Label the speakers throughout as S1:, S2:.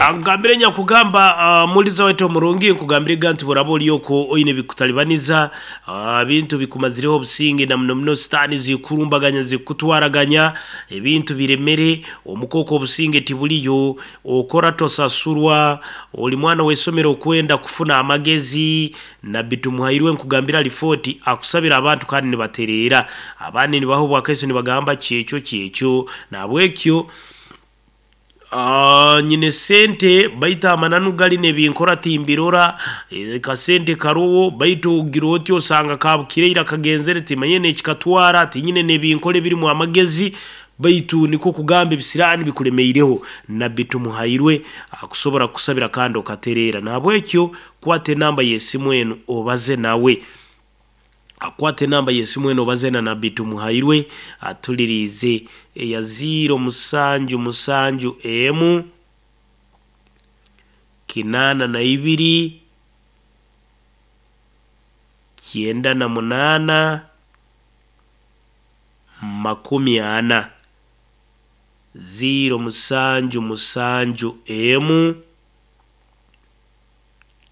S1: Nkugambire nyakugamba muliza waitu omurungi, nkugambire ga nti bworaba oli okwo oine ebikutalibaniza, ebintu bikumazireho obusinge na muno muno sitaani zikurumbaganya zikutwaraganya, ebintu biremere, omuka okwo obusinge tibuliyo, okora tosasurwa, oli mwana w'isomero okwenda kufuna amagezi, Nabbi Tumuhairwe nkugambira ali Fort akusabira abantu kandi nibatereera, abandi nibaha obwakaiso nibagamba kyekyo kyekyo. Nahabwekyo nyine sente baitu amananu gali n'ebinkora timbirora, kasente karoho baitu ogira oti osanga kabukire ira kagenzere timanyire n'ekikatwara, tinyine n'ebinkora ebirimu amagezi baitu nikwo kugamba ebisiraani bikulemeireho. Nabbi Tumuhairwe akusobora kukusabira kandi okatereera. Nahabwekyo kwata enamba y'esimu enu obaze nawe. Kwata enamba y'esimu enu obaze na Nabbi Tumuhairwe atuliriize eya ziiro musanju musanju emu kinaana na ibiri kyenda na munaana makumi ana. Ziiro musanju musanju emu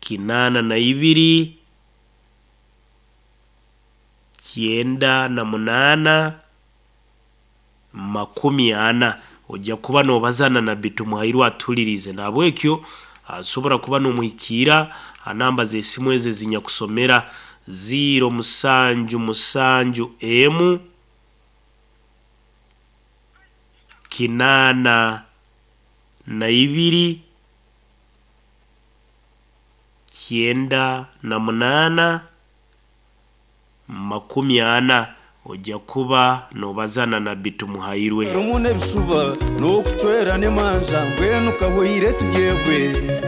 S1: 82 98 40. Ojja kuba noobaza na Nabbi Tumuhairwe atuhuliriize. Nahabwekyo asobora kuba noomuhikiira ha namba z'esimu ezi ezinyakusomera ziiro musanju musanju emu 82 98 40. Ojja kuba noobaza na Nabbi Tumuhairwe.
S2: Harimu n'ebishuba n'okucwerana emanja, mbwenu kahweire tugyebwe.